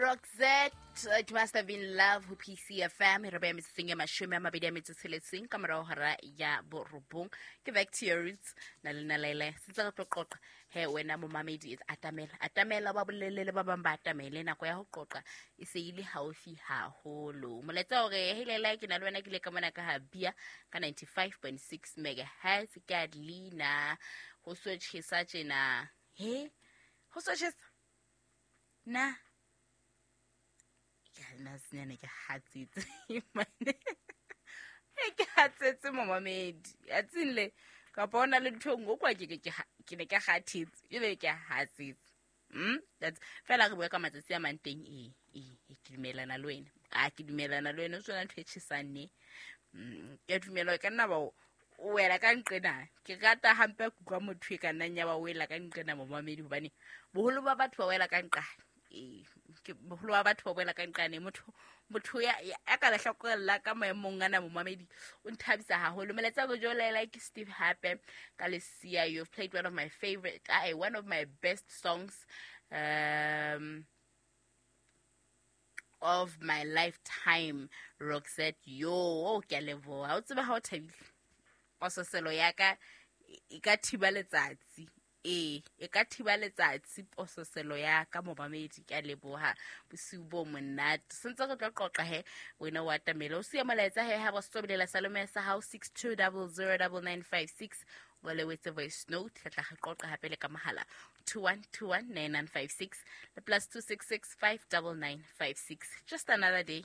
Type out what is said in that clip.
Roxette, It Must Have Been Love ho PCFM. Re beya metsotsong ya 26 ka morao hora ya 9. Ke Back to Your Roots na le nna Laila. Sentse re tlo qoqa he wena momamedi, atamela, atamela, ba bolelele ba bang ba atamele. Nako ya ho qoqa e se ile haufi haholo. Molaetsa hore hey Laila, ke na le wena, ke ile ka mona ka ha bia ka 95.6 megahertz. Ke a leina ho so tjhesa tjena. He ho so tjhesa na ke nna senyane, ke hatsetse mane, ke hatsetse momamedi atsing le kapa o na le ntho e nngwe kwa ke ne ke kgathetse ebe ke hatsetse. That's fela re bua ka matsatsi a mang teng. Ee, ke dumelana le wena, a ke dumelana le wena, o tsona ntho e tjhesang ne. Ke a dumela, ka nna ba o wela ka nqena. Ke rata hampe kutlwa motho e ka nnang ya ba wela ka nqena, momamedi, hobane boholo ba batho ba wela ka nqane. Ee, boholo ba batho ba wela ka nqane. Motho ya ka lehlakoreng la ka maemong ana, momamedi, o nthabisa haholo. Molaetsa go jolela ke Steve hape ka Lesia. You've played one of my favorite, one of my best songs of my lifetime, Roxette. Yo, oh, ke a leboha. O tseba ha o thabile, pososelo ya ka e ka thiba letsatsi. Ee, e ka thiba letsatsi pososelo ya ka, momamedi. Ke a leboha, bosiu bo monate. Sentse re tlo qoqa he wena o atamele, o siya molaetsa he ha ba sobelela salome sa hao 62009956, o le wetse voice note. Re tla re qoqa hape le ka mohala 21219956 le +266 59956. Just another day.